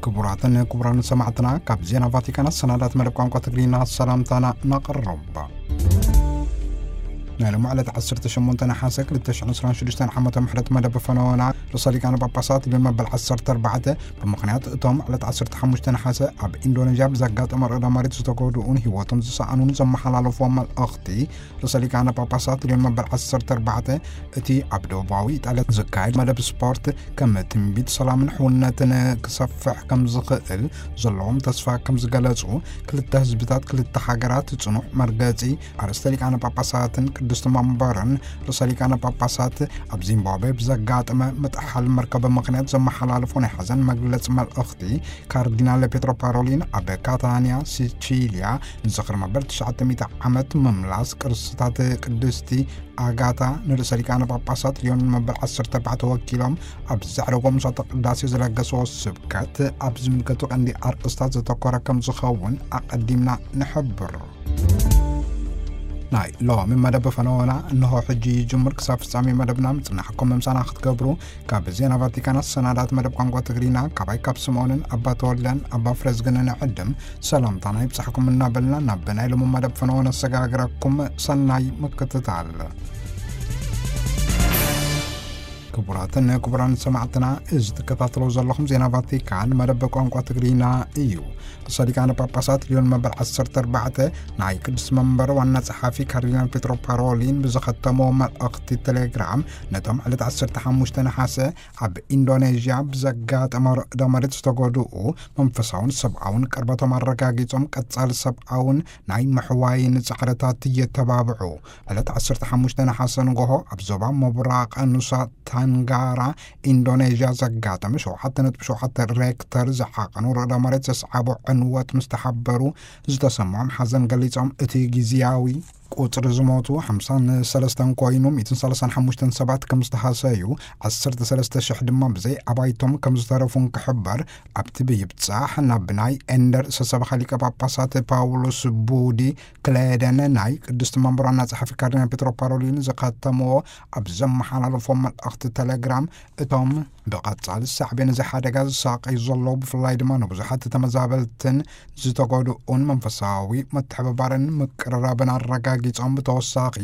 ክቡራትን ክቡራን ሰማዕትና፣ ካብ ዜና ቫቲካን ኣሰናዳት መደብ ቋንቋ ትግርኛ ሰላምታና ነቕርብ። ናይ ሎሚ ዕለት ዓሰርተ ሸሞንተ ነሓሰ ክልተ ሽሕን ዕስራን ሽዱሽተን ዓመተ ምሕረት መደብ ፈነወና ርእሰ ሊቃነ ጳጳሳት ሊዮን መበል ዓሰርተ ኣርባዕተ፣ ብምኽንያት እቶም ዕለት ዓሰርተ ሓሙሽተ ነሓሰ ኣብ ኢንዶኔዥያ ብዘጋጠመ ርዕደ መሬት ዝተጎድኡን ህይወቶም ዝሰኣኑን ዘመሓላለፍዎ መልእኽቲ፣ ርእሰ ሊቃነ ጳጳሳት ሊዮን መበል ዓሰርተ ኣርባዕተ፣ እቲ ኣብ ደቡባዊ ኢጣልያ ዝካየድ መደብ ስፖርት ከም ትንቢት ሰላምን ሕውነትን ክሰፍሕ ከም ዝኽእል ዘለዎም ተስፋ ከም ዝገለጹ፣ ክልተ ህዝብታት፣ ክልተ ሃገራት ጽኑዕ መርገጺ ኣርእስተ ሊቃነ ጳጳሳትን ቅድስቲ መንበርን ርእሰ ሊቃነ ጳጳሳት ኣብ ዚምባብዌ ብዘጋጠመ ምጥሓል መርከብ ምኽንያት ዘመሓላለፎ ናይ ሓዘን መግለጺ መልእኽቲ፣ ካርዲናል ፔትሮ ፓሮሊን ኣብ ካታንያ ሲቺልያ ንዝኽሪ መበል ትሽዓተ ሚእቲ ዓመት ምምላስ ቅርስታት ቅድስቲ ኣጋታ ንርእሰ ሊቃነ ጳጳሳት ሊዮን መበል ዓሰርተ ኣርባዕተ ወኪሎም ኣብ ዘዕረጎ ምሳተ ቅዳሴ ዝለገስዎ ስብከት ኣብ ዝምልከቱ ቀንዲ ኣርእስታት ዘተኮረ ከም ዝኸውን ኣቐዲምና ንሕብር። ናይ ሎሚ መደብ ፈነወና እንሆ ሕጂ ይጅምር። ክሳብ ፍጻሜ መደብና ምጽናሕኩም ምምሳና ክትገብሩ ካብ ዜና ቫቲካን ኣሰናዳት መደብ ቋንቋ ትግርኛ ካባይ ካብ ስምኦንን ኣባ ተወልደን ኣባ ፍረዝግንን ዕድም ሰላምታና ይብጻሕኩም እናበልና፣ ናብ ናይ ሎሚ መደብ ፈነወ ነሰጋግረኩም። ሰናይ ምክትታል። ክቡራትን ክቡራን ሰማዕትና፣ እዚ ትከታተሉ ዘለኹም ዜና ቫቲካን መደብ ቋንቋ ትግርኛ እዩ። ርእሰ ሊቃነ ጳጳሳት ሊዮን መበል ዓሰርተ ኣርባዕተ፣ ናይ ቅዱስ መንበር ዋና ጸሓፊ ካርዲናል ፔትሮ ፓሮሊን ብዝኸተሞ መልእኽቲ ቴሌግራም፣ ነቶም ዕለት ዓሰርተ ሓሙሽተ ነሓሰ ኣብ ኢንዶኔዥያ ብዘጋጠመ ርዕደ መሬት ዝተጎድኡ መንፈሳውን ሰብኣውን ቅርበቶም ኣረጋጊጾም፣ ቀጻሊ ሰብኣውን ናይ ምሕዋይን ጻዕርታት እየተባብዑ። ዕለት ዓሰርተ ሓሙሽተ ነሓሰ ንጎሆ ኣብ ዞባ ምብራቕ ኑሳ ታንጋራ ኢንዶኔዥያ ዘጋጠመ ሸውዓተ ነጥቢ ሸውዓተ ሬክተር ዝዓቐኑ ርዕደ መሬት ዘስዓቦ ዕንወት ምስ ተሓበሩ ዝተሰምዖም ሓዘን ገሊጾም፣ እቲ ግዝያዊ ቁጽሪ ዝሞቱ ሓምሳን ሰለስተን ኮይኑ፣ ሚእትን ሰላሳን ሓሙሽተን ሰባት ከም ዝተሃሰዩ፣ ዓሰርተ ሰለስተ ሽሕ ድማ ብዘይ ኣባይቶም ከም ዝተረፉን ክሕበር፣ ኣብቲ ብይብጻሕ ናብ ናይ ኤንደር ሰሰብኻ ሊቀ ጳጳሳት ፓውሎስ ቡዲ ክሌደን ናይ ቅድስቲ መንበር ዋና ጸሓፊ ካርዲናል ፔትሮ ፓሮሊን ዝኸተምዎ ኣብ ዘመሓላለፎ መልእኽቲ ቴሌግራም፣ እቶም ብቐጻሊ ሳዕቤን እዚ ሓደጋ ዝሳቐዩ ዘለዉ፣ ብፍላይ ድማ ንብዙሓት ተመዛበልትን ዝተጎድኡን መንፈሳዊ ምትሕብባርን ምቅርራብን ኣረጋጊጾም፣ ብተወሳኺ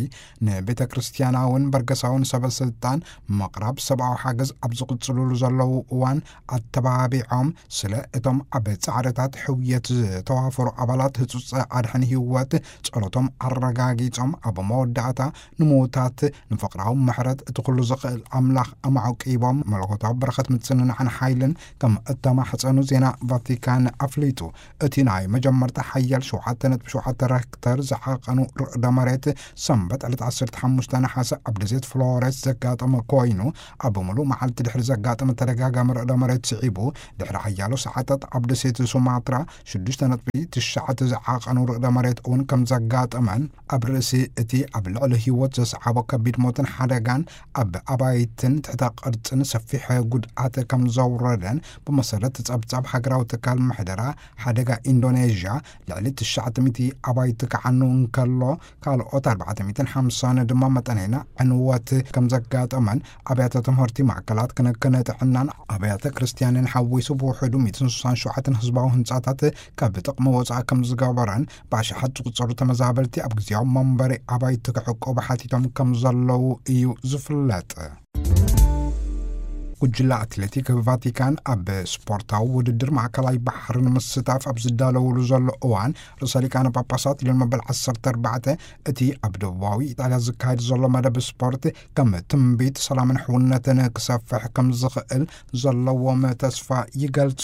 ንቤተ ክርስቲያናውን በርገሳውን ሰበ ስልጣን ምቕራብ ሰብኣዊ ሓገዝ ኣብ ዝቕጽሉሉ ዘለዉ እዋን ኣተባቢዖም፣ ስለ እቶም ኣብ ጻዕርታት ሕውየት ዝተዋፈሩ ኣባላት ህጹጽ ኣድሕን ህይወት ጸሎቶም ኣረጋጊጾም፣ ኣብ መወዳእታ ንምዉታት ንፍቕራዊ ምሕረት እቲ ኩሉ ዝኽእል ኣምላኽ ኣማዕቂቦም፣ መለኮታዊ በረኸት ምጽንናዕን ሓይልን ከም እተማሕጸኑ ዜና ቫቲካን ኣፍሊጡ። እቲ ናይ መጀመርታ ሓያል ሸውዓተ ነጥቢ ሸውዓተ ሬክተር ዝዓቐኑ ርዕደ መሬት ሰንበት ዕለት ዓሰርተ ሓሙሽተ ነሓሰ ኣብ ደሴት ፍሎሬስ ዘጋጠመ ኮይኑ፣ ኣብ ምሉእ መዓልቲ ድሕሪ ዘጋጠመ ተደጋጋሚ ርዕደ መሬት ስዒቡ፣ ድሕሪ ሓያሎ ሰዓታት ኣብ ደሴት ሱማትራ ሽዱሽተ ነጥቢ ትሽዓተ ዝዓቐኑ ርዕደ መሬት እውን ከም ዘጋጠመን፣ ኣብ ርእሲ እቲ ኣብ ልዕሊ ህይወት ዘስዓቦ ከቢድ ሞትን ሓደጋን፣ ኣብ ኣባይትን ትሕተ ቅርጽን ሰፊሕ ጉድኣት ከም ዘውረደን፣ ብመሰረት ጸብጻብ ሃገራዊ ትካል ምሕደራ ሓደጋ ኢንዶኔዥያ፣ ልዕሊ ትሽዓተ ሚእቲ ኣባይቲ ክዓኑ እንከሎ፣ ካልኦት ኣርባዕተ ሚእትን ሓምሳን ድማ መጠነይና ዕንወት ከም ዘጋጠመን፣ ኣብያተ ትምህርቲ፣ ማእከላት ክንክን ጥዕናን ኣብያተ ክርስቲያንን ሓዊሱ ብውሕዱ ሚእትን ስሳን ሸውዓተን ህዝባዊ ህንጻታት ካብ ጥቕሚ ወጻኢ ከም ዝገበረን፣ ብኣሽሓት ዝቑጸሩ ተመዛበልቲ ኣብ ግዜያዊ መንበሪ ኣባይቲ ክዕቆቡ ሓቲቶም ከም ዘለዉ እዩ ዝፍለጥ። ጉጅለ ኣትሌቲክ ቫቲካን ኣብ ስፖርታዊ ውድድር ማእከላይ ባሕሪ ንምስታፍ ኣብ ዝዳለውሉ ዘሎ እዋን፣ ርእሰ ሊቃነ ጳጳሳት ሊዮን መበል ዓሰርተ ኣርባዕተ፣ እቲ ኣብ ደቡባዊ ኢጣልያ ዝካየድ ዘሎ መደብ ስፖርት ከም ትንቢት ሰላምን ሕውነትን ክሰፍሕ ከም ዝኽእል ዘለዎም ተስፋ ይገልጹ።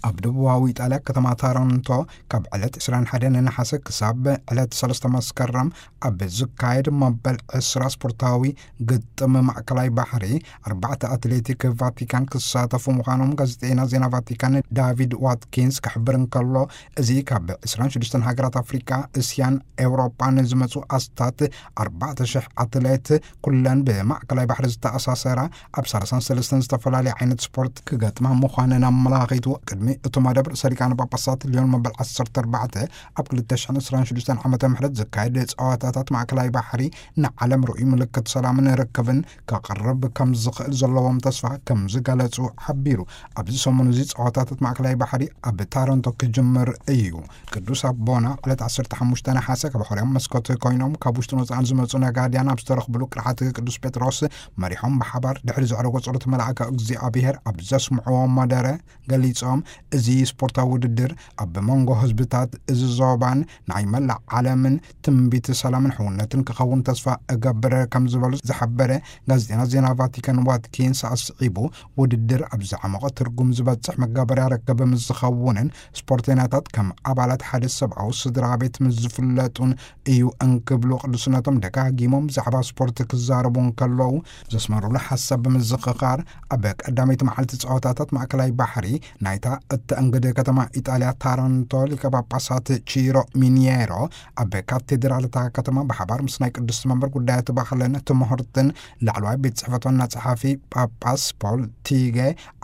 ኣብ ደቡባዊ ኢጣልያ ከተማ ታረንቶ ካብ ዕለት ዕስራን ሓደን ነሓሰ ክሳብ ዕለት ሰለስተ መስከረም ኣብ ዝካየድ መበል ዕስራ ስፖርታዊ ግጥም ማእከላይ ባሕሪ፣ ኣርባዕተ ኣትሌቲክ ቫቲካን ክሳተፉ ምዃኖም ጋዜጠኛ ዜና ቫቲካን ዳቪድ ዋትኪንስ ክሕብር እንከሎ፣ እዚ ካብ ዕስራን ሽዱሽተን ሃገራት ኣፍሪቃ፣ እስያን ኤውሮጳን ዝመጹ ኣስታት ኣርባዕተ ሽሕ ኣትሌት፣ ኩለን ብማእከላይ ባሕሪ ዝተኣሳሰራ፣ ኣብ ሰላሳን ሰለስተን ዝተፈላለየ ዓይነት ስፖርት ክገጥማ ምዃነን ኣመላኺቱ። ቅድሚ እቲ መደብ ርእሰ ሊቃነ ጳጳሳት ሊዮን መበል ዓሰርተ ኣርባዕተ ኣብ ክልተ ሽሕን ዕስራን ሽዱሽተን ዓመተ ምሕረት ዝካየድ ጸዋታታት ማእከላይ ባሕሪ ንዓለም ርኡይ ምልክት ሰላምን ርክብን ከቕርብ ከም ዝኽእል ዘለዎም ተስፋ ከም ዝገለጹ ሓቢሩ። ኣብዚ ሰሙን እዚ ጸወታታት ማእከላይ ባሕሪ ኣብ ታረንቶ ክጅምር እዩ። ቅዱስ ኣቦና ዕለት ዓሰርተ ሓሙሽተ ነሓሰ ካብ ሕርያም መስኮት ኮይኖም ካብ ውሽጥን ወጻእን ዝመጹ ነጋድያን ኣብ ዝተረኽብሉ ቅርሓት ቅዱስ ጴጥሮስ መሪሖም ብሓባር ድሕሪ ዘዕረጎ ጸሎት መልኣከ እግዚኣብሔር ኣብ ዘስምዕዎ መደረ ገሊጾም፣ እዚ ስፖርታዊ ውድድር ኣብ መንጎ ህዝብታት እዚ ዞባን ናይ መላእ ዓለምን ትንቢት ሰላምን ሕውነትን ክኸውን ተስፋ እገብር ከም ዝበሉ ዝሓበረ ጋዜጠኛ ዜና ቫቲካን ዋትኪንስ ኣስዒቡ፣ ውድድር ኣብ ዝዓመቐ ትርጉም ዝበጽሕ መጋበርያ ርክብ ምስ ዝኸውንን ስፖርተኛታት ከም ኣባላት ሓደ ሰብኣዊ ስድራ ቤት ምስ ዝፍለጡን እዩ እንክብሉ ቅዱስነቶም ደጋጊሞም ብዛዕባ ስፖርት ክዛረቡ እንከለዉ ዘስመሩሉ ሓሳብ ብምዝኽኻር፣ ኣብ ቀዳመይቲ መዓልቲ ጸወታታት ማእከላይ ባሕሪ ናይታ እተእንግድ ከተማ ኢጣልያ ታረንቶ ሊቀ ጳጳሳት ቺሮ ሚኒየሮ ኣብ ካቴድራል እታ ከተማ ብሓባር ምስ ናይ ቅድስቲ መንበር ጉዳያት ባህልን ትምህርትን ላዕለዋይ ቤት ጽሕፈት ዋና ጸሓፊ ጳጳስ ፖል ቲገ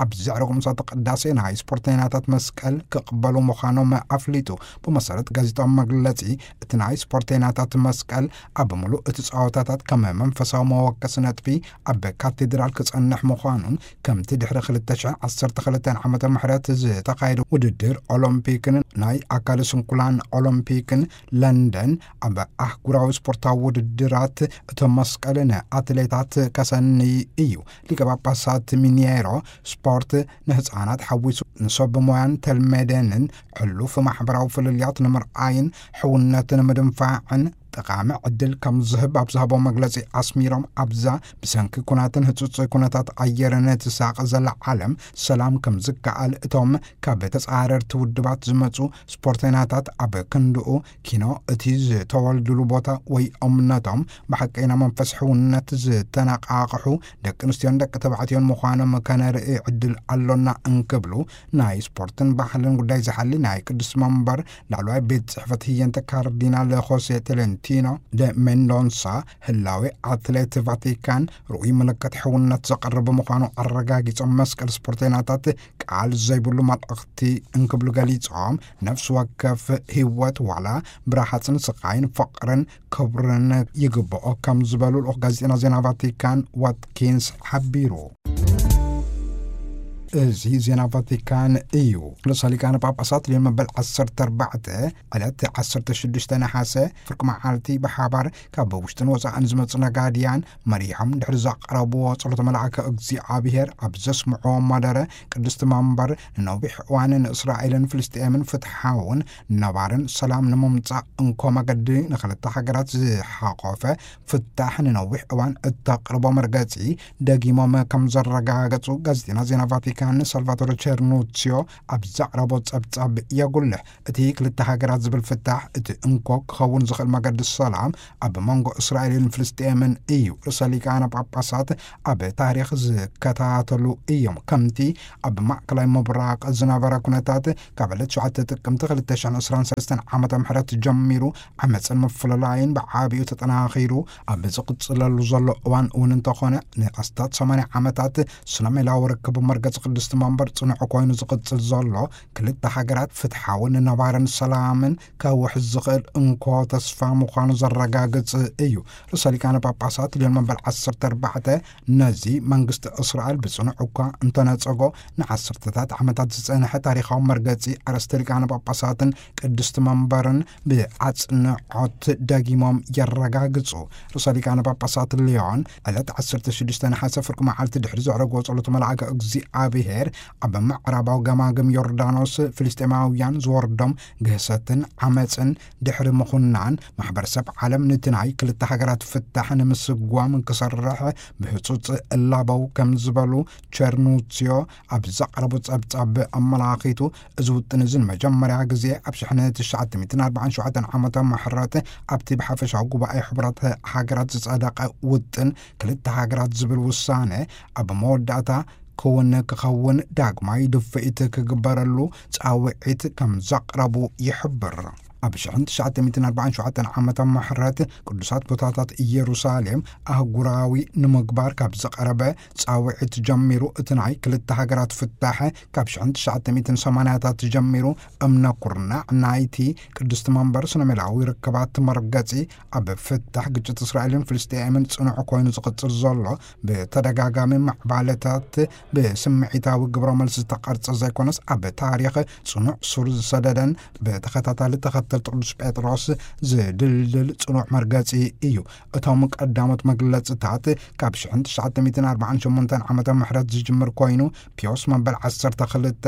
ኣብ ዘዕረጉ ምሳተ ቅዳሴ ናይ ስፖርተኛታት መስቀል ክቕበሉ ምዃኖም ኣፍሊጡ። ብመሰረት ጋዜጣዊ መግለጺ፣ እቲ ናይ ስፖርተኛታት መስቀል ኣብ ምሉእ እቲ ጸወታታት ከም መንፈሳዊ መወከሲ ነጥቢ ኣብ ካቴድራል ክጸንሕ ምዃኑን፣ ከምቲ ድሕሪ ክልተ ሽሕን ዓሰርተ ክልተን ዓመተ ምሕረት ዝተኻየደ ውድድር ኦሎምፒክን ናይ ኣካል ስንኩላን ኦሎምፒክን ለንደን ኣብ ኣህጉራዊ ስፖርታዊ ውድድራት እቶም መስቀል ንኣትሌታት ከሰንይ እዩ። ሊቀ ጳጳሳት ሚኒየሮ፣ ስፖርት ንህፃናት ሓዊሱ ንሰብ ሞያን ተልመደንን ሕሉፍ ማሕበራዊ ፍልልያት ንምርኣይን ሕውነትን ምድንፋዕን ጠቓሚ ዕድል ከም ዝህብ ኣብ ዝሃቦ መግለጺ ኣስሚሮም፣ ኣብዛ ብሰንኪ ኩናትን ህጹጽ ኩነታት ኣየርን ትሳቐ ዘላ ዓለም ሰላም ከም ዝከኣል እቶም ካብ ተጻረርቲ ውድባት ዝመጹ ስፖርተኛታት ኣብ ክንድኡ ኪኖ እቲ ዝተወልድሉ ቦታ ወይ እምነቶም ብሓቀይና መንፈስ ሕውነት ዝተነቃቕሑ ደቂ ኣንስትዮን ደቂ ተባዕትዮን ምዃኖም ከነርኢ ዕድል ኣሎና እንክብሉ ናይ ስፖርትን ባህልን ጉዳይ ዝሓሊ ናይ ቅዱስ መንበር ላዕለዋይ ቤት ጽሕፈት ህየንተ ካርዲናል ሆሴ ቶለንቲኖ ደ ሜንዶንሳ ህላዌ ኣትሌት ቫቲካን ርኡይ ምልክት ሕውነት ዘቕርብ ምዃኑ ኣረጋጊጾም መስቀል ስፖርተኛታት ቃል ዘይብሉ መልእኽቲ እንክብሉ ገሊጾም፣ ነፍሲ ወከፍ ህይወት ዋላ ብረሃጽን ስቓይን ፍቕርን ክብርን ይግብኦ ከም ዝበሉ ልኡኽ ጋዜጠና ዜና ቫቲካን ዋትኪንስ ሓቢሩ። እዚ ዜና ቫቲካን እዩ። ርእሰ ሊቃነ ጳጳሳት ሊዮን መበል ዓሰርተ ኣርባዕተ ዕለት ዓሰርተ ሽዱሽተ ነሓሰ ፍርቂ መዓልቲ ብሓባር ካብ ውሽጥን ወፃእን ዝመፁ ነጋድያን መሪሖም ድሕሪ ዘቕረብዎ ጸሎተ መልኣከ እግዚኣብሔር ኣብ ዘስምዕዎ መደረ ቅድስቲ መንበር ንነዊሕ እዋን ንእስራኤልን ፍልስጤምን ፍትሓውን ነባርን ሰላም ንምምጻእ እንኮ መገዲ ንክልተ ሃገራት ዝሓቆፈ ፍታሕ ንነዊሕ እዋን እተቕርቦ መርገጺ ደጊሞም ከም ዘረጋገጹ ጋዜጠና ዜና ቫቲካን ሳልቫቶረ ቸርኑሲዮ ኣብ ዘቕረቦ ጸብጻብ የጉልሕ። እቲ ክልተ ሃገራት ዝብል ፍታሕ እቲ እንኮ ክኸውን ዝኽእል መገዲ ሰላም ኣብ መንጎ እስራኤልን ፍልስጤምን እዩ። ርእሰ ሊቃነ ጳጳሳት ኣብ ታሪኽ ዝከታተሉ እዮም። ከምቲ ኣብ ማእከላይ ምብራቕ ዝነበረ ኩነታት ካብ ዕለት ሸውዓተ ጥቅምቲ ክልተ ሽሕን ዕስራን ሰለስተን ዓመተ ምህረት ጀሚሩ ዓመፅን ምፍልላይን ብዓቢኡ ተጠናኺሩ ኣብ ዝቕፅለሉ ዘሎ እዋን እውን እንተኾነ ንኣስታት ሰማንያ ዓመታት ስነ ሜላዊ ርክብ መርገፂ ቅድስቲ መንበር ጽኑዕ ኮይኑ ዝቕፅል ዘሎ ክልተ ሃገራት ፍትሓውን ነባርን ሰላምን ከውሕዝ ዝኽእል እንኮ ተስፋ ምዃኑ ዘረጋግጽ እዩ። ርእሰ ሊቃነ ጳጳሳት ሊዮን መበል ዓሰርተ ኣርባዕተ ነዚ መንግስቲ እስራኤል ብጽኑዕ እኳ እንተነጸጎ ንዓሰርተታት ዓመታት ዝጸንሐ ታሪኻዊ መርገጺ ኣርእስተ ሊቃነ ጳጳሳትን ቅድስቲ መንበርን ብኣጽንዖት ደጊሞም የረጋግጹ። ርእሰ ሊቃነ ጳጳሳት ሊዮን ዕለት ዓሰርተ ሽዱሽተ ነሓሰ ፍርቂ መዓልቲ ድሕሪ ዘዕረግዎ ጸሎት መልኣከ እግዚኣብሔር ኣብ ምዕራባዊ ገማግም ዮርዳኖስ ፍልስጤማውያን ዝወርዶም ግህሰትን ዓመፅን ድሕሪ ምኹናን ማሕበረሰብ ዓለም ነቲ ናይ ክልተ ሃገራት ፍታሕ ንምስጓም ክሰርሕ ብህፁፅ እላበው ከም ዝበሉ ቸርኑሲዮ ኣብ ዘቕረቡ ጸብጻብ ኣመላኺቱ፣ እዚ ውጥን እዚ ንመጀመርያ ግዜ ኣብ ሽሕን ትሽዓተ ሚእትን ኣርባዓን ሸውዓተን ዓመተ ምህረት ኣብቲ ብሓፈሻዊ ጉባኤ ሕቡራት ሃገራት ዝጸደቐ ውጥን ክልተ ሃገራት ዝብል ውሳነ ኣብ መወዳእታ ክውን ክኸውን ዳግማይ ድፍኢት ክግበረሉ ጻውዒት ከም ዘቕረቡ ይሕብር። ኣብ ሽሕን ትሽዓተ ሚእትን ኣርባዓን ሸውዓተን ዓመተ ምሕረት ቅዱሳት ቦታታት ኢየሩሳሌም ኣህጉራዊ ንምግባር ካብ ዝቐረበ ጻውዒት ጀሚሩ፣ እቲ ናይ ክልተ ሃገራት ፍታሕ ካብ ሽሕን ትሽዓተ ሚእትን ሰማንያታት ጀሚሩ እምነ ኩርናዕ ናይቲ ቅድስቲ መንበር ስነ ሜላዊ ርክባት መርገጺ ኣብ ፍታሕ ግጭት እስራኤልን ፍልስጤምን ጽኑዕ ኮይኑ ዝቕጽል ዘሎ፣ ብተደጋጋሚ ማዕባለታት ብስምዒታዊ ግብረ መልሲ ዝተቐርጸ ዘይኮነስ፣ ኣብ ታሪኽ ጽኑዕ ሱር ዝሰደደን ብተኸታታሊ ተኸተልቲ ቅዱስ ጴጥሮስ ዝድልድል ጽኑዕ መርገጺ እዩ። እቶም ቀዳሞት መግለጽታት ካብ ሽሕን ትሽዓተ ሚእትን ኣርባዓን ሸሞንተን ዓመተ ምሕረት ዝጅምር ኮይኑ፣ ፒዮስ መበል ዓሰርተ ክልተ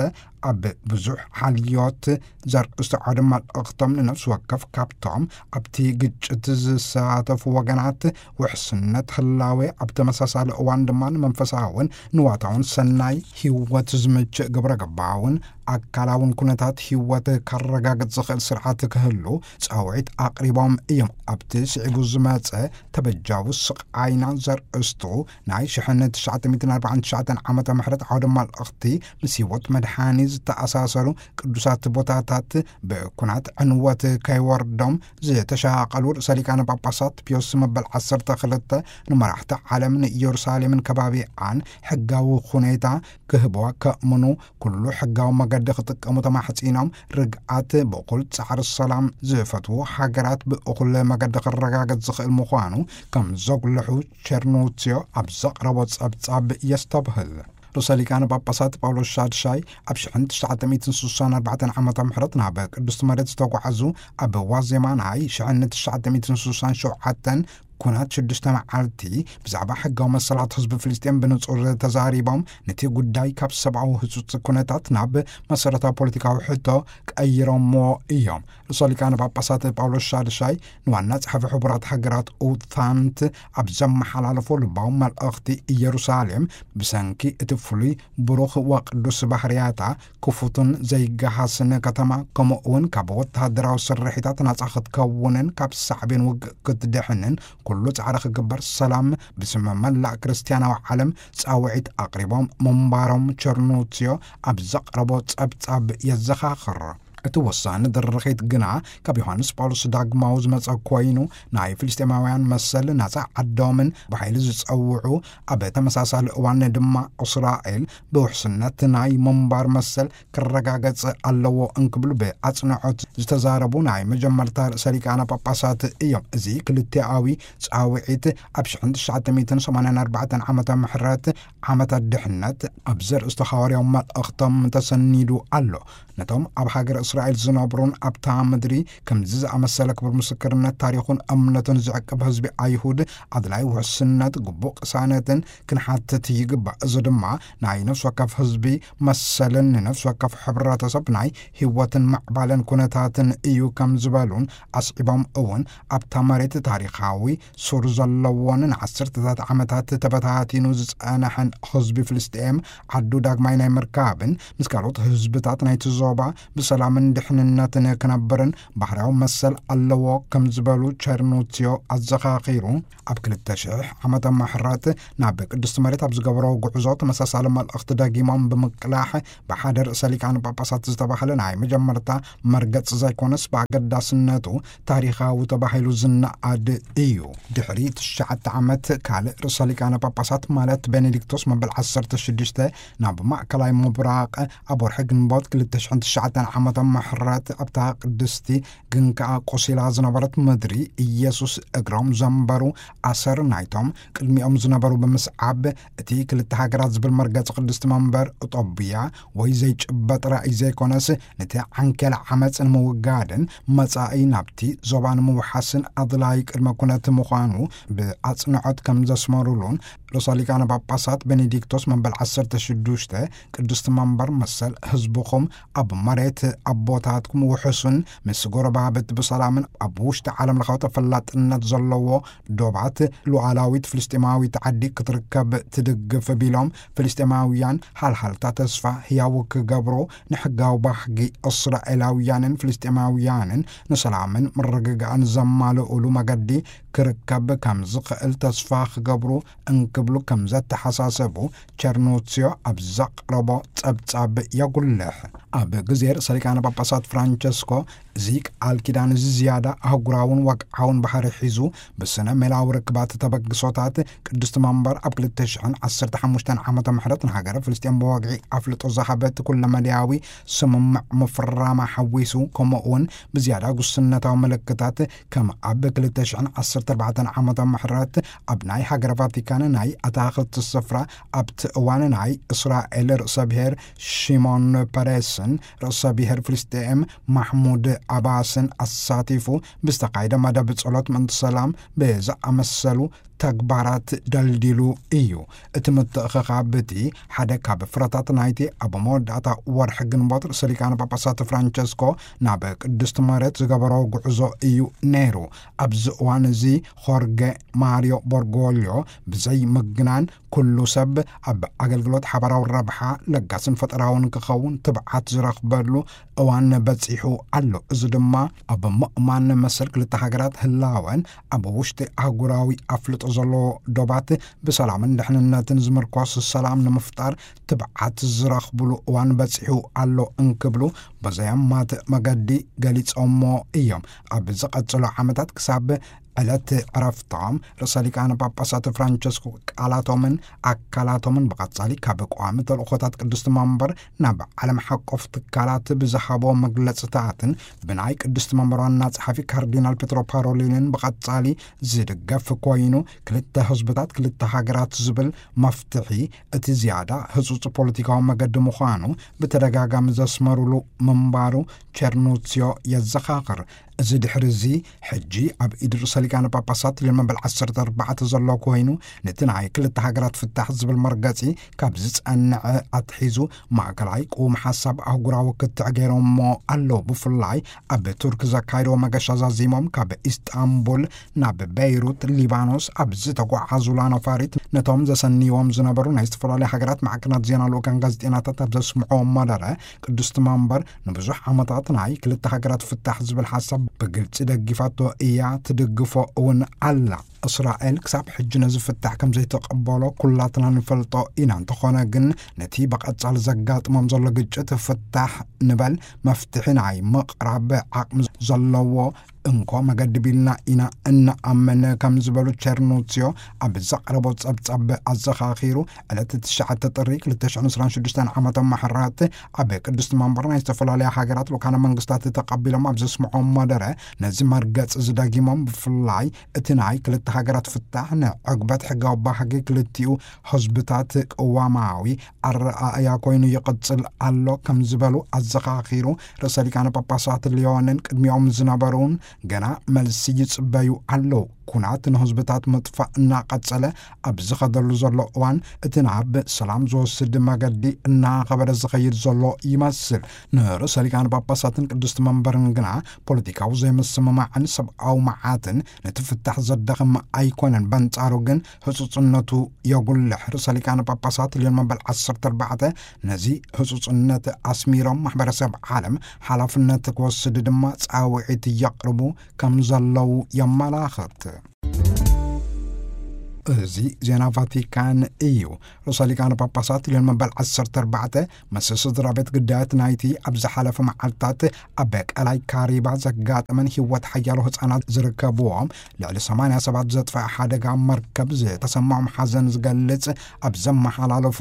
ኣብ ብዙሕ ሓልዮት ዘርእስቱ ዓውደ መልእኽቶም፣ ንነፍሲ ወከፍ ካብቶም ኣብቲ ግጭት ዝሳተፉ ወገናት ውሕስነት ህላዌ፣ ኣብ ተመሳሳሊ እዋን ድማ ንመንፈሳውን ንዋታውን ሰናይ ህይወት ዝምችእ ግብረ ገባውን ኣካላውን ኩነታት ህይወት ከረጋግጽ ዝኽእል ስርዓት ክህሉ ጻውዒት ኣቕሪቦም እዮም። ኣብቲ ስዒቡ ዝመጸ ተበጃዊ ስቓይና ዘርእስቱ ናይ ሽሕን ትሽዓተ ሚእትን ኣርባዓን ትሽዓተን ዓመተ ምሕረት ዓውደ መልእኽቲ፣ ምስ ህይወት መድሓኒ ዝተኣሳሰሩ ቅዱሳት ቦታታት ብኩናት ዕንወት ከይወርዶም ዝተሻቐሉ ርእሰ ሊቃነ ጳጳሳት ፒዮስ መበል ዓሰርተ ክልተ ንመራሕቲ ዓለም ንኢየሩሳሌምን ከባቢኣን ሕጋዊ ሁኔታ ክህብዋ ከእምኑ፣ ኩሉ ሕጋዊ መገዲ ክጥቀሙ ተማሕጺኖም፣ ርግኣት ብእኹል ጻዕሪ ሰላም ዝፈትዉ ሃገራት ብእኹል መገዲ ክረጋገጽ ዝኽእል ምዃኑ ከም ዘጉልሑ ቸርኑትዮ ኣብ ዘቕረቦ ጸብጻብ የስተብህል። ርእሰ ሊቃነ ጳጳሳት ጳውሎስ ሻድሻይ ኣብ ሽሕን ትሽዓተ ሚእትን ስሳን ኣርባዕተን ዓመተ ምሕረት ናብ ቅድስቲ መሬት ዝተጓዓዙ፣ ኣብ ዋዜማ ናይ ሽሕን ትሽዓተ ሚእትን ስሳን ሸውዓተን ኩናት ሽዱሽተ መዓልቲ ብዛዕባ ሕጋዊ መሰላት ህዝቢ ፍልስጤም ብንጹር ተዛሪቦም፣ ነቲ ጉዳይ ካብ ሰብኣዊ ህጹጽ ኩነታት ናብ መሰረታዊ ፖለቲካዊ ሕቶ ቀይሮምዎ እዮም። ርእሰ ሊቃነ ጳጳሳት ጳውሎስ ሻድሻይ ንዋና ጸሓፊ ሕቡራት ሃገራት ኡታንት ኣብ ዘመሓላለፎ ልባዊ መልእኽቲ፣ ኢየሩሳሌም ብሰንኪ እቲ ፍሉይ ብሩኽ ወቅዱስ ባህርያታ ክፉትን ዘይገሃስን ከተማ፣ ከምኡ እውን ካብ ወተሃደራዊ ስርሒታት ናጻ ክትከውንን ካብ ሳዕቤን ውግእ ክትድሕንን ኩሉ ጻዕሪ ክግበር፣ ሰላም ብስም መላእ ክርስትያናዊ ዓለም ጻውዒት ኣቕሪቦም ምንባሮም ቸርኑትዮ ኣብ ዘቕረቦ ጸብጻብ የዘኻኽር። እቲ ወሳኒ ድርኺት ግና ካብ ዮሃንስ ጳውሎስ ዳግማዊ ዝመጸ ኮይኑ፣ ናይ ፍልስጤማውያን መሰል ናጻ ዓዶምን ብሓይሊ ዝጸውዑ፣ ኣብ ተመሳሳሊ እዋን ድማ እስራኤል ብውሕስነት ናይ ምንባር መሰል ክረጋገጽ ኣለዎ እንክብሉ ብኣጽንዖት ዝተዛረቡ ናይ መጀመርታ ርእሰ ሊቃነ ጳጳሳት እዮም። እዚ ክልቲኣዊ ጻውዒት ኣብ ሽሕን ትሽዓተ ሚእትን ሰማንያን ኣርባዕተን ዓመተ ምሕረት ዓመተ ድሕነት ኣብ ዘርእስቱ ሃዋርያዊ መልእኽቶም ተሰኒዱ ኣሎ። ነቶም ኣብ ሃገር እስራኤል ዝነብሩን ኣብታ ምድሪ ከምዚ ዝኣመሰለ ክቡር ምስክርነት ታሪኹን እምነቱን ዝዕቅብ ህዝቢ ኣይሁድ ኣድላይ ውሕስነት፣ ግቡእ ቅሳነትን ክንሓትት ይግባእ። እዚ ድማ ናይ ነፍሲ ወከፍ ህዝቢ መሰልን ንነፍሲ ወከፍ ሕብረተሰብ ናይ ህይወትን ምዕባለን ኩነታትን እዩ ከም ዝበሉን ኣስዒቦም እውን ኣብታ መሬት ታሪኻዊ ሱር ዘለዎን ንዓሰርተታት ዓመታት ተበታቲኑ ዝጸንሐን ህዝቢ ፍልስጤም ዓዱ ዳግማይ ናይ ምርካብን ምስ ካልኦት ህዝብታት ናይቲ ዞባ ብሰላምን ድሕንነትን ክነብርን ባህርያዊ መሰል ኣለዎ ከም ዝበሉ ቸርኑትዮ ኣዘኻኺሩ፣ ኣብ ክልተ ሽሕ ዓመተ ምሕረት ናብ ቅድስቲ መሬት ኣብ ዝገበሮ ጉዕዞ ተመሳሳሊ መልእኽቲ ደጊሞም ብምቅላሕ፣ ብሓደ ርእሰ ሊቃነ ጳጳሳት ዝተባህለ ናይ መጀመርታ መርገጽ ዘይኮነስ ብኣገዳስነቱ ታሪኻዊ ተባሂሉ ዝነኣድ እዩ። ድሕሪ ትሽዓተ ዓመት ካልእ ርእሰ ሊቃነ ጳጳሳት ማለት ቤኔዲክቶስ መበል ዓሰርተ ሽዱሽተ ናብ ማእከላይ ምብራቕ ኣብ ወርሒ ግንቦት ክልተ ሽሕን ትሽዓተን ዓመተ ምሕረት ኣብታ ቅድስቲ ግን ከኣ ቆሲላ ዝነበረት ምድሪ ኢየሱስ እግሮም ዘንበሩ ኣሰር ናይቶም ቅድሚኦም ዝነበሩ ብምስዓብ፣ እቲ ክልተ ሃገራት ዝብል መርገጺ ቅድስቲ መንበር እጦብያ ወይ ዘይጭበጥ ራእይ ዘይኮነስ፣ ነቲ ዓንኬል ዓመጽ ንምውጋድን መጻኢ ናብቲ ዞባ ንምውሓስን ኣድላይ ቅድመ ኩነት ምዃኑ ብኣጽንዖት ከም ዘስመሩሉን፣ ርእሰ ሊቃነ ጳጳሳት ቤኔዲክቶስ መበል ዓሰርተ ሽዱሽተ ቅድስቲ መንበር መሰል ህዝብኹም ኣብ መሬት ኣቦታትኩም ውሕሱን ምስ ጎረባብት ብሰላምን ኣብ ውሽጢ ዓለም ለኻዊ ተፈላጥነት ዘለዎ ዶባት ሉዓላዊት ፍልስጤማዊት ዓዲ ክትርከብ ትድግፍ ቢሎም፣ ፍልስጤማውያን ሃልሃልታ ተስፋ ህያው ክገብሩ፣ ንሕጋዊ ባህጊ እስራኤላውያንን ፍልስጤማውያንን ንሰላምን ምርግጋእን ዘማልኡሉ መገዲ ክርከብ ከም ዝኽእል ተስፋ ክገብሩ እንክብሉ ከም ዘተሓሳሰቡ ቸርኑትዮ ኣብ ዘቕረቦ ጸብጻብ የጉልሕ። ኣብ ግዜ ርእሰ ሊቃነ ጳጳሳት ፍራንቸስኮ፣ እዚ ቃል ኪዳን እዚ ዝያዳ ኣህጉራውን ወግዓውን ባህሪ ሒዙ፣ ብስነ ሜላዊ ርክባት ተበግሶታት ቅድስቲ መንበር ኣብ ክልተ ሽሕን ዓሰርተ ሓሙሽተን ዓመተ ምሕረት ንሃገረ ፍልስጤም ብወግዒ ኣፍልጦ ዝሃበት ኩለመዳያዊ ስምምዕ ምፍራማ ሓዊሱ፣ ከምኡ እውን ብዝያዳ ጉስነታዊ ምልክታት ከም ኣብ ክልተ ሽሕን ዓሰርተ ኣርባዕተን ዓመተ ምሕረት ኣብ ናይ ሃገረ ቫቲካን ናይ ኣታኽልቲ ስፍራ ኣብቲ እዋን ናይ እስራኤል ርእሰ ብሔር ሽሞን ፐሬስን ርእሰ ብሔር ፍልስጤም ማሕሙድ ኣባስን ኣሳቲፉ ብዝተኻየደ መደብ ጸሎት ምእንቲ ሰላም ብዝኣመሰሉ ተግባራት ደልዲሉ እዩ። እቲ ምትእኽኻብ እቲ ሓደ ካብ ፍረታት ናይቲ ኣብ መወዳእታ ወርሒ ግንቦት ርእሰ ሊቃነ ጳጳሳት ፍራንቸስኮ ናብ ቅድስቲ መሬት ዝገበሮ ጉዕዞ እዩ ነይሩ። ኣብዚ እዋን እዚ ሆርገ ማሪዮ ቦርጎልዮ ብዘይ ምግናን ኩሉ ሰብ ኣብ ኣገልግሎት ሓባራዊ ረብሓ ለጋስን ፈጠራውን ክኸውን ትብዓት ዝረኽበሉ እዋን በጺሑ ኣሎ። እዚ ድማ ኣብ ምእማን መሰል ክልተ ሃገራት ህላወን ኣብ ውሽጢ ኣህጉራዊ ኣፍልጦ ዘለዎ ዶባት ብሰላምን ድሕንነትን ዝምርኮስ ሰላም ንምፍጣር ትብዓት ዝረኽብሉ እዋን በጺሑ ኣሎ እንክብሉ በዘያማት መገዲ ገሊጾሞ እዮም። ኣብ ዝቐጽሉ ዓመታት ክሳብ ዕለት ዕረፍቶም ርእሰ ሊቃነ ጳጳሳት ፍራንቸስኮ ቃላቶምን ኣካላቶምን ብቐጻሊ ካብ ቋሚ ተልእኾታት ቅድስቲ መንበር ናብ ዓለም ሓቆፍ ትካላት ብዝሃቦ መግለጽታትን ብናይ ቅድስቲ መንበር ዋና ጸሓፊ ካርዲናል ፔትሮ ፓሮሊንን ብቐጻሊ ዝድገፍ ኮይኑ፣ ክልተ ህዝብታት ክልተ ሃገራት ዝብል መፍትሒ እቲ ዝያዳ ህጹጽ ፖለቲካዊ መገዲ ምዃኑ ብተደጋጋሚ ዘስመሩሉ ምንባሩ ቸርኑሲዮ የዘኻኽር። እዚ ድሕሪ እዚ ሕጂ ኣብ ኢድ ርእሰ ሊቃነ ጳጳሳት ልዮን መበል ዓሰርተ ኣርባዕተ ዘሎ ኮይኑ፣ ነቲ ናይ ክልተ ሃገራት ፍታሕ ዝብል መርገጺ ካብ ዝጸንዐ ኣትሒዙ ማእከላይ ቅውም ሓሳብ ኣህጉራዊ ክትዕ ገይሮሞ ኣለዉ። ብፍላይ ኣብ ቱርክ ዘካየድዎ መገሻ ዛዚሞም ካብ ኢስጣንቡል ናብ ቤይሩት ሊባኖስ ኣብ ዝተጓዓዙላ ነፋሪት ነቶም ዘሰንይዎም ዝነበሩ ናይ ዝተፈላለዩ ሃገራት ማዕከናት ዜና ልኡካን ጋዜጠኛታት ኣብ ዘስምዕዎ መደረ ቅድስቲ መንበር ንብዙሕ ዓመታት ናይ ክልተ ሃገራት ፍታሕ ዝብል ሓሳብ ብግልጺ ደጊፋቶ እያ፣ ትድግፎ እውን ኣላ። እስራኤል ክሳብ ሕጂ ነዚ ፍታሕ ከም ዘይተቐበሎ ኩላትና ንፈልጦ ኢና። እንተኾነ ግን ነቲ ብቐጻሊ ዘጋጥሞም ዘሎ ግጭት ፍታሕ ንበል መፍትሒ ናይ ምቕራብ ዓቕሚ ዘለዎ እንኮ መገዲ ቢልና ኢና እንኣምን ከም ዝበሉ ቸርኑሲዮ ኣብ ዘቕረቦ ጸብጻብ ኣዘኻኺሩ፣ ዕለት ትሽዓተ ጥሪ ክልተ ሽሕን ዕስራን ሽዱሽተን ዓመተ ምሕረት ኣብ ቅድስቲ መንበር ናይ ዝተፈላለያ ሃገራት ልኡካነ መንግስታት ተቐቢሎም ኣብ ዘስምዖም መደረ ነዚ መርገጽ ዝደጊሞም ብፍላይ እቲ ናይ ክልተ ሃገራት ፍታሕ ንዕግበት ሕጋዊ ባህጊ ክልቲኡ ህዝብታት ቅዋማዊ ኣረኣእያ ኮይኑ ይቕጽል ኣሎ ከም ዝበሉ ኣዘኻኺሩ፣ ርእሰ ሊቃነ ጳጳሳት ሊዮንን ቅድሚኦም ዝነበሩን ገና መልሲ ይጽበዩ ኣለዉ። ኩናት ንህዝብታት ምጥፋእ እናቐጸለ ኣብ ዝኸደሉ ዘሎ እዋን፣ እቲ ናብ ሰላም ዝወስድ መገዲ እናኸበደ ዝኸይድ ዘሎ ይመስል። ንርእሰ ሊቃነ ጳጳሳትን ቅድስቲ መንበርን ግና ፖለቲካዊ ዘይምስምማዕን ሰብኣዊ መዓትን ነቲ ፍታሕ ዘዳኽም ኣይኮነን። በንጻሩ ግን ህጹጽነቱ የጉልሕ። ርእሰ ሊቃነ ጳጳሳት ልዮን መበል ዓሰርተ ኣርባዕተ ነዚ ህጹጽነት ኣስሚሮም፣ ማሕበረሰብ ዓለም ሓላፍነት ክወስድ ድማ ጻውዒት የቕርቡ ከም ዘለዉ የመላኽት። እዚ ዜና ቫቲካን እዩ። ርእሰ ሊቃነ ጳጳሳት ልዮን መበል ዓሰርተ ኣርባዕተ፣ ምስ ስድራ ቤት ግዳያት ናይቲ ኣብ ዝሓለፈ መዓልታት ኣብ ቀላይ ካሪባ ዘጋጠመን ህይወት ሓያሎ ህጻናት ዝርከብዎም ልዕሊ ሰማንያ ሰባት ዘጥፍአ ሓደጋ መርከብ ዝተሰማዖም ሓዘን ዝገልጽ ኣብ ዘመሓላለፎ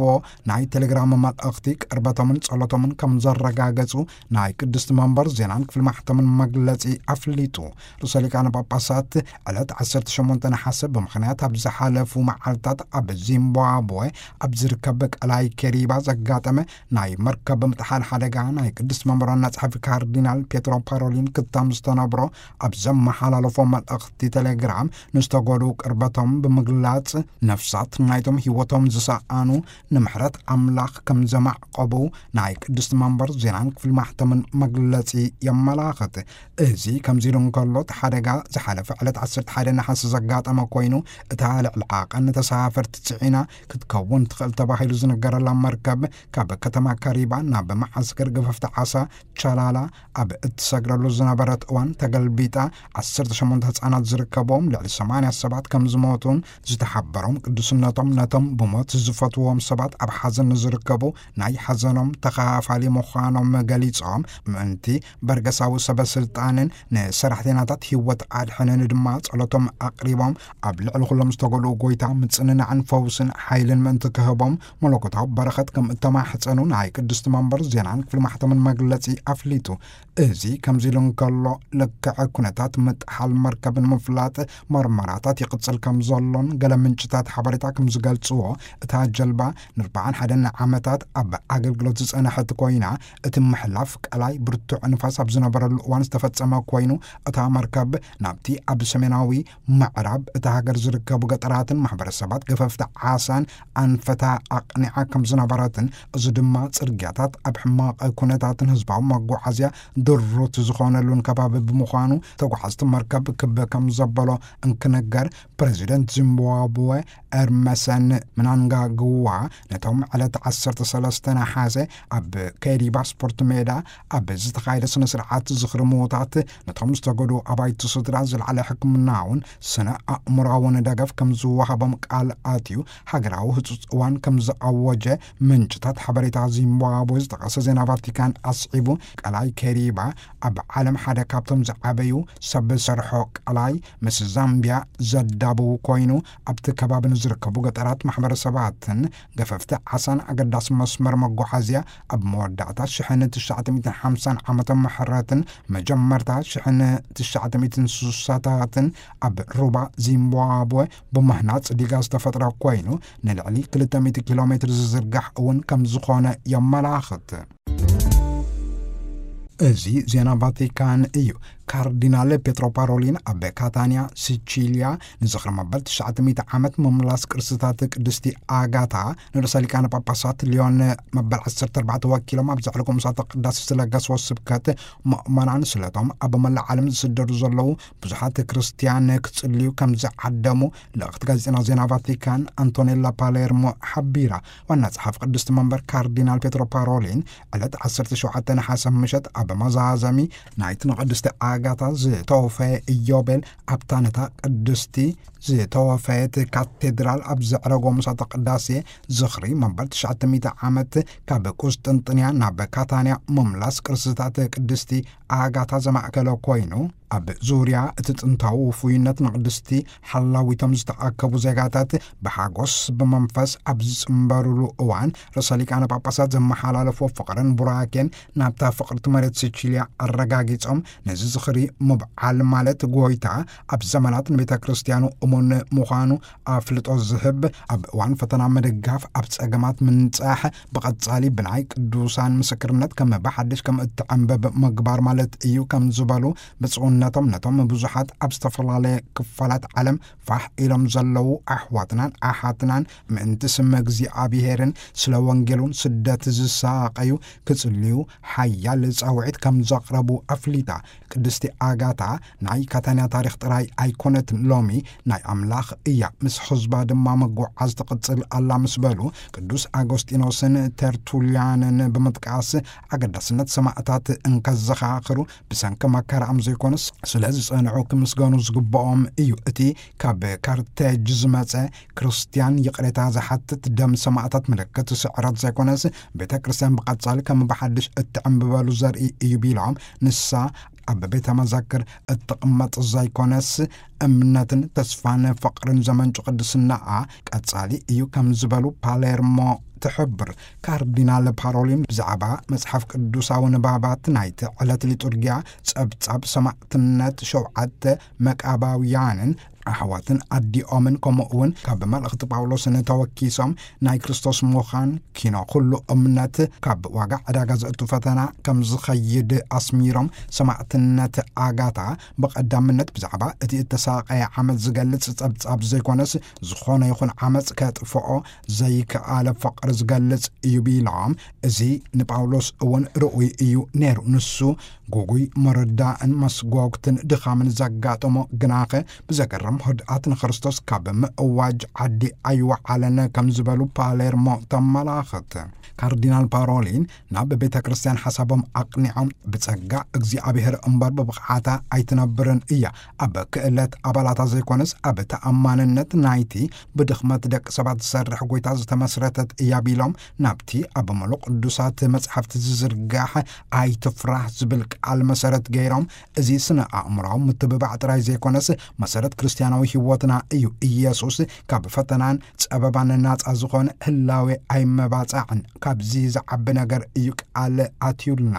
ናይ ቴሌግራም መልእኽቲ፣ ቅርበቶምን ጸሎቶምን ከም ዘረጋገጹ ናይ ቅድስቲ መንበር ዜናን ክፍሊ ማሕተምን መግለጺ ኣፍሊጡ። ርእሰ ሊቃነ ጳጳሳት ዕለት ዓሰርተ ሸሞንተ ነሓሰ ብምኽንያት ኣብ ዝሓለፉ መዓልታት ኣብ ዚምባብወ ኣብ ዝርከብ ቀላይ ኬሪባ ዘጋጠመ ናይ መርከብ ምጥሓል ሓደጋ ናይ ቅድስቲ መንበር ዋና ጸሓፊ ካርዲናል ፔትሮ ፓሮሊን ክታም ዝተነብሮ ኣብ ዘመሓላለፎ መልእኽቲ ቴሌግራም ንዝተጎድኡ ቅርበቶም ብምግላጽ፣ ነፍሳት ናይቶም ህይወቶም ዝሰኣኑ ንምሕረት ኣምላኽ ከም ዘማዕቆቡ ናይ ቅድስቲ መንበር ዜናን ክፍሊ ማሕተምን መግለጺ የመላኽት። እዚ ከምዚ ኢሉ እንከሎ፣ እቲ ሓደጋ ዝሓለፈ ዕለት ዓሰርተ ሓደ ነሓሰ ዘጋጠመ ኮይኑ፣ እታ ልዕሊ ዓቐን ተሳፈርቲ ጽዒና ክትከውን ትኽእል ተባሂሉ ዝነገረላ መርከብ፣ ካብ ከተማ ካሪባ ናብ መዓስከር ገፈፍቲ ዓሳ ቻላላ ኣብ እትሰግረሉ ዝነበረት እዋን ተገልቢጣ፣ ዓሰርተ ሸሞንተ ህጻናት ዝርከብዎም ልዕሊ ሰማንያ ሰባት ከም ዝሞቱን ዝተሓበሮም ቅዱስነቶም ነቶም ብሞት ዝፈትዎም ሰባት ኣብ ሓዘን ንዝርከቡ ናይ ሓዘኖም ተኻፋሊ ምዃኖም ገሊጾም፣ ምእንቲ በርገሳዊ ሰበ ስልጣንን ንሰራሕተኛታት ህይወት ኣድሕንን ድማ ጸሎቶም ኣቕሪቦም፣ ኣብ ልዕሊ ኩሎም ዝተጎድኡ ጎይታ ምጽንናዕን ፈውስን ሓይልን ምእንቲ ክህቦም መለኮታዊ በረኸት ከም እተማሕጸኑ ናይ ቅድስቲ መንበር ዜናን ክፍሊ ማሕተምን መግለጺ ኣፍሊጡ። እዚ ከምዚ ኢሉ እንከሎ፣ ልክዕ ኩነታት ምጥሓል መርከብን ምፍላጥ መርመራታት ይቕጽል ከም ዘሎን ገለ ምንጭታት ሓበሬታ ከም ዝገልጽዎ፣ እታ ጀልባ ንኣርባዓን ሓደን ዓመታት ኣብ ኣገልግሎት ዝጸንሐት ኮይና፣ እቲ ምሕላፍ ቀላይ ብርቱዕ ንፋስ ኣብ ዝነበረሉ እዋን ዝተፈጸመ ኮይኑ፣ እታ መርከብ ናብቲ ኣብ ሰሜናዊ ምዕራብ እታ ሃገር ዝርከቡ ገጠራትን ማሕበረሰባት ገፈፍቲ ዓሳን ኣንፈታ ኣቕኒዓ ከም ዝነበረትን፣ እዚ ድማ ጽርግያታት ኣብ ሕማቕ ኩነታትን ህዝባዊ መጓዓዝያ ድሩት ዝኾነሉን ከባቢ ብምዃኑ፣ ተጓዓዝቲ መርከብ ክብ ከም ዘበሎ እንክነገር፣ ፕሬዚደንት ዚምባብወ ኤርመሰን ምናንጋግዋ ነቶም ዕለት ዓሰርተ ሰለስተ ነሓሰ ኣብ ከይሪባ ስፖርት ሜዳ ኣብ ዝተኻየደ ስነ ስርዓት ዝኽሪ ምዉታት፣ ነቶም ዝተጎድኡ ኣባይቲ ስድራ ዝለዓለ ሕክምናውን ስነ ኣእምሮኣውን ደገፍ ከም ዝወሃቦም ቃል ኣትዩ፣ ሃገራዊ ህጹጽ እዋን ከም ዝኣወጀ ምንጭታት ሓበሬታ ዚምባብወ ዝጠቐሰ ዜና ቫቲካን ኣስዒቡ፣ ቀላይ ከይሪባ ኣብ ዓለም ሓደ ካብቶም ዝዓበዩ ሰብ ዝሰርሖ ቀላይ ምስ ዛምቢያ ዘዳብው ኮይኑ፣ ኣብቲ ከባቢ ንዝርከቡ ገጠራት ማሕበረሰባትን ገፈፍቲ ዓሳን ኣገዳሲ መስመር መጓዓዝያ፣ ኣብ መወዳእታ ሽሕን ትሽዓተ ሚእትን ሓምሳን ዓመተ ምሕረትን መጀመርታ ሽሕን ትሽዓተ ሚእትን ስሳታትን ኣብ ሩባ ዚምባብወ ብምህናጽ ዲጋ ዝተፈጥረ ኮይኑ፣ ንልዕሊ ክልተ ሚእቲ ኪሎ ሜትር ዝዝርጋሕ እውን ከም ዝኾነ የመላኽት። እዚ ዜና ቫቲካን እዩ። ካርዲናል ፔትሮ ፓሮሊን ኣብ ካታንያ ሲቺልያ ንዝኽሪ መበል ትሽዓተ ሚእቲ ዓመት ምምላስ ቅርስታት ቅድስቲ ኣጋታ ንርእሰ ሊቃነ ጳጳሳት ሊዮን መበል ዓሰርተ ኣርባዕተ ወኪሎም ኣብ ዘዕለጎ ምሳተ ቅዳሴ ዝለገስዎ ስብከት፣ ምእመናን ስለቶም ኣብ መላእ ዓለም ዝስደዱ ዘለዉ ብዙሓት ክርስትያን ክጽልዩ ከም ዝዓደሙ ልእኽቲ ጋዜጠና ዜና ቫቲካን ኣንቶኔላ ፓሌርሞ ሓቢራ። ዋና ጸሓፊ ቅድስቲ መንበር ካርዲናል ፔትሮ ፓሮሊን ዕለት ዓሰርተ ሸውዓተ ነሓሰ ምሸት ኣብ መዛዘሚ ናይቲ ንቅድስቲ ኣጋታ ዝተወፈየ ኢዮቤል ኣብታ ነታ ቅድስቲ ዝተወፈየት ካቴድራል ኣብ ዘዕረጎ ምሳተ ቅዳሴ ዝኽሪ መበል ትሽዓተ ሚእቲ ዓመት ካብ ቁስጥንጥንያ ናብ ካታንያ ምምላስ ቅርስታት ቅድስቲ ኣጋታ ዘማእከለ ኮይኑ፣ ኣብ ዙርያ እቲ ጥንታዊ ውፉይነት ንቅድስቲ ሓላዊቶም ዝተኣከቡ ዜጋታት ብሓጎስ ብመንፈስ ኣብ ዝጽንበሩሉ እዋን፣ ርእሰ ሊቃነ ጳጳሳት ዘመሓላለፍዎ ፍቕርን ቡራኬን ናብታ ፍቕርቲ መሬት ሲቺልያ ኣረጋጊጾም፣ ነዚ ዝኽሪ ምብዓል ማለት ጎይታ ኣብ ዘመናት ንቤተ ክርስቲያኑ እሙን ምዃኑ ኣፍልጦ ዝህብ፣ ኣብ እዋን ፈተና ምድጋፍ፣ ኣብ ጸገማት ምንጻሕ፣ ብቐጻሊ ብናይ ቅዱሳን ምስክርነት ከም ብሓድሽ ከም እትዕንብብ ምግባር ማለት እዩ ከም ዝበሉ ብፁዕነቶም፣ ነቶም ብዙሓት ኣብ ዝተፈላለየ ክፋላት ዓለም ፋሕ ኢሎም ዘለዉ ኣሕዋትናን ኣሓትናን ምእንቲ ስም እግዚኣብሄርን ስለ ወንጌሉን ስደት ዝሳቐዩ ክጽልዩ ሓያል ጻውዒት ከም ዘቕረቡ ኣፍሊጣ። ቅድስቲ ኣጋታ ናይ ካታንያ ታሪኽ ጥራይ ኣይኮነትን፣ ሎሚ ናይ ኣምላኽ እያ፣ ምስ ህዝባ ድማ ምጉዓዝ ትቕጽል ኣላ ምስ በሉ፣ ቅዱስ ኣጎስጢኖስን ተርቱልያንን ብምጥቃስ፣ ኣገዳስነት ሰማእታት እንከዘኻኽሩ፣ ብሰንኪ መከራኦም ዘይኮነስ ስለ ዝጸንዑ ክምስገኑ ዝግብኦም እዩ። እቲ ካብ ካርቴጅ ዝመጸ ክርስትያን ይቕሬታ ዝሓትት ደም ሰማእታት ምልክት ስዕረት ዘይኮነስ፣ ቤተ ክርስቲያን ብቐጻሊ ከም ብሓድሽ እትዕንብበሉ ዘርኢ እዩ ቢሎም፣ ንሳ ኣብ ቤተ መዘክር እትቕመጥ ዘይኮነስ፣ እምነትን ተስፋን ፍቕርን ዘመንጩ ቅድስናኣ ቀጻሊ እዩ ከም ዝበሉ ፓሌርሞ ትሕብር። ካርዲናል ፓሮሊን ብዛዕባ መጽሓፍ ቅዱሳዊ ንባባት ናይቲ ዕለት ሊጡርጊያ፣ ጸብጻብ ሰማዕትነት ሸውዓተ መቃባውያንን ኣሕዋትን ኣዲኦምን፣ ከምኡ እውን ካብ መልእኽቲ ጳውሎስን ተወኪሶም ናይ ክርስቶስ ምዃን ኪኖ ኩሉ እምነት ካብ ዋጋ ዕዳጋ ዘእቱ ፈተና ከም ዝኸይድ ኣስሚሮም፣ ሰማዕትነት ኣጋታ ብቐዳምነት ብዛዕባ እቲ እተሳቐየ ዓመጽ ዝገልጽ ጸብጻብ ዘይኮነስ፣ ዝኾነ ይኹን ዓመጽ ከጥፍኦ ዘይከኣለ ፍቕሪ ዝገልጽ እዩ ቢሎም፣ እዚ ንጳውሎስ እውን ርኡይ እዩ ነይሩ። ንሱ ግጉይ መረዳእን መስጎግትን ድኻምን ዘጋጠሞ፣ ግናኸ ብዘገርም ህድኣት ንክርስቶስ ካብ ምእዋጅ ዓዲ ኣይወዓለን ከም ዝበሉ ፓሌርሞ ተመላኽት። ካርዲናል ፓሮሊን ናብ ቤተ ክርስቲያን ሓሳቦም ኣቕኒዖም፣ ብጸጋ እግዚኣብሔር እምበር ብብቕዓታ ኣይትነብርን እያ፣ ኣብ ክእለት ኣባላታ ዘይኮነስ ኣብ ተኣማንነት ናይቲ ብድኽመት ደቂ ሰባት ዝሰርሕ ጎይታ ዝተመስረተት እያ ቢሎም፣ ናብቲ ኣብ ምሉእ ቅዱሳት መጽሓፍቲ ዝዝርጋሕ ኣይትፍራህ ዝብል ቃል መሰረት ገይሮም፣ እዚ ስነ ኣእምራዊ ምትብባዕ ጥራይ ዘይኮነስ መሰረት ክርስትያናዊ ህይወትና እዩ። ኢየሱስ ካብ ፈተናን ጸበባን ናጻ ዝኾነ ህላዌ ኣይመባጻዕን። ካብዚ ዝዓቢ ነገር እዩ ቃል ኣትዩልና።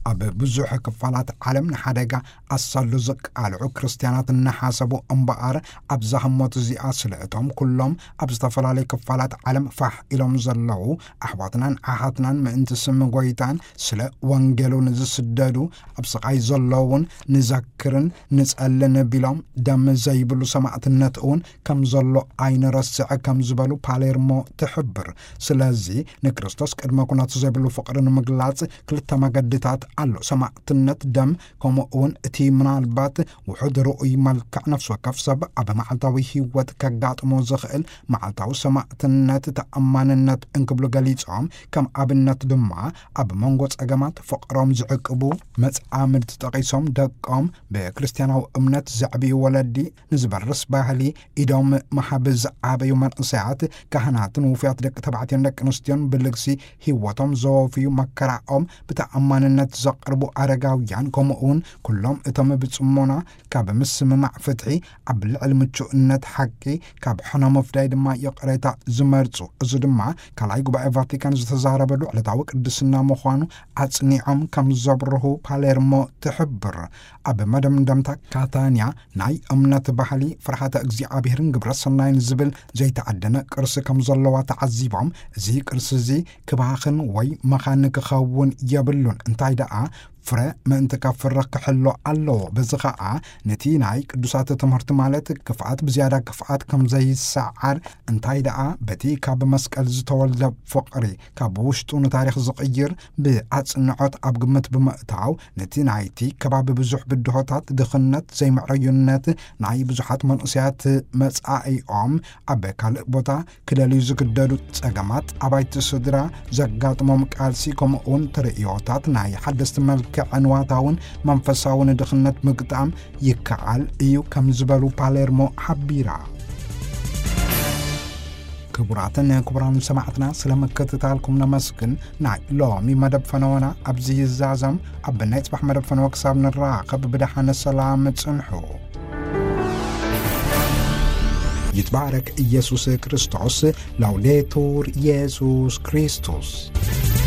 ኣብ ብዙሕ ክፋላት ዓለም ንሓደጋ ኣሳሉ ዝቃልዑ ክርስትያናት እናሓሰቡ እምበኣር፣ ኣብዛ ህሞት እዚኣ ስለ እቶም ኩሎም ኣብ ዝተፈላለዩ ክፋላት ዓለም ፋሕ ኢሎም ዘለዉ ኣሕዋትናን ኣሓትናን ምእንቲ ስም ጎይታን ስለ ወንጌሉ ንዝስደዱ ኣብ ስቓይ ዘለውን ንዘክርን ንጸልን ቢሎም ደም ዘይብሉ ሰማዕትነት እውን ከም ዘሎ ኣይንረስዕ ከም ዝበሉ ፓሌርሞ ትሕብር። ስለዚ ንክርስቶስ ቅድመ ኩነቱ ዘይብሉ ፍቕሪ ንምግላጽ ክልተ መገድታት ኣሎ። ሰማዕትነት ደም፣ ከምኡ እውን እቲ ምናልባት ውሑድ ርኡይ መልክዕ ነፍሲ ወከፍ ሰብ ኣብ መዓልታዊ ህይወት ከጋጥሞ ዝኽእል መዓልታዊ ሰማዕትነት ተኣማንነት እንክብሉ ገሊጾም፣ ከም ኣብነት ድማ ኣብ መንጎ ጸገማት ፍቕሮም ዝዕቅቡ መጻምድቲ ጠቒሶም፣ ደቆም ብክርስትያናዊ እምነት ዘዕብዩ ወለዲ ንዝበርስ ባህሊ ኢዶም መሃብ ዝዓበዩ መንእሰያት፣ ካህናትን ውፉያት ደቂ ተባዕትዮን ደቂ ኣንስትዮን ብልግሲ ህይወቶም ዘወፍዩ መከራኦም ብተኣማንነት ዘቕርቡ ኣረጋውያን፣ ከምኡ እውን ኩሎም እቶም ብጽሞና ካብ ምስምማዕ ፍትሒ ኣብ ልዕሊ ምቹእነት ሓቂ ካብ ሕነ ምፍዳይ ድማ ይቕሬታ ዝመርጹ። እዚ ድማ ካልኣይ ጉባኤ ቫቲካን ዝተዛረበሉ ዕለታዊ ቅድስና ምዃኑ ኣጽኒዖም ከም ዘብርሁ ፓሌርሞ ትሕብር። ኣብ መደምደምታ ካታንያ ናይ እምነት ባህሊ ፍርሃተ እግዚኣብሔርን ግብረ ሰናይን ዝብል ዘይተዓደነ ቅርሲ ከም ዘለዋ ተዓዚቦም፣ እዚ ቅርሲ እዚ ክባኽን ወይ መኻን ክኸውን የብሉን። እንታይ ደኣ ፍረ ምእንቲ ከፍርህ ክሕሎ ኣለዎ። በዚ ኸኣ ነቲ ናይ ቅዱሳት ትምህርቲ ማለት ክፍኣት ብዝያዳ ክፍኣት ከም ዘይሰዓር፣ እንታይ ደኣ በቲ ካብ መስቀል ዝተወልደ ፍቕሪ ካብ ውሽጡ ንታሪኽ ዝቕይር ብኣጽንዖት ኣብ ግምት ብምእታው፣ ነቲ ናይቲ ከባቢ ብዙሕ ብድሆታት፣ ድኽነት፣ ዘይምዕረዩነት፣ ናይ ብዙሓት መንእሰያት መጻኢኦም ኣብ ካልእ ቦታ ክደልዩ ዝግደዱ ጸገማት፣ ኣባይቲ ስድራ ዘጋጥሞም ቃልሲ፣ ከምኡውን ተርእዮታት ናይ ሓደስቲ መልክዕ ንዋታውን መንፈሳውን ድኽነት ምግጣም ይከኣል እዩ ከም ዝበሉ ፓሌርሞ ሓቢራ። ክቡራትን ክቡራን ሰማዕትና፣ ስለ ምክትታልኩም ነመስግን። ናይ ሎሚ መደብ ፈነወና ኣብዚ ይዛዘም። ኣብ ናይ ጽባሕ መደብ ፈነወ ክሳብ ንራኸብ ብደሓነ ሰላም ጽንሑ። ይትባረክ ኢየሱስ ክርስቶስ። ላውዴቱር ኢየሱስ ክርስቶስ።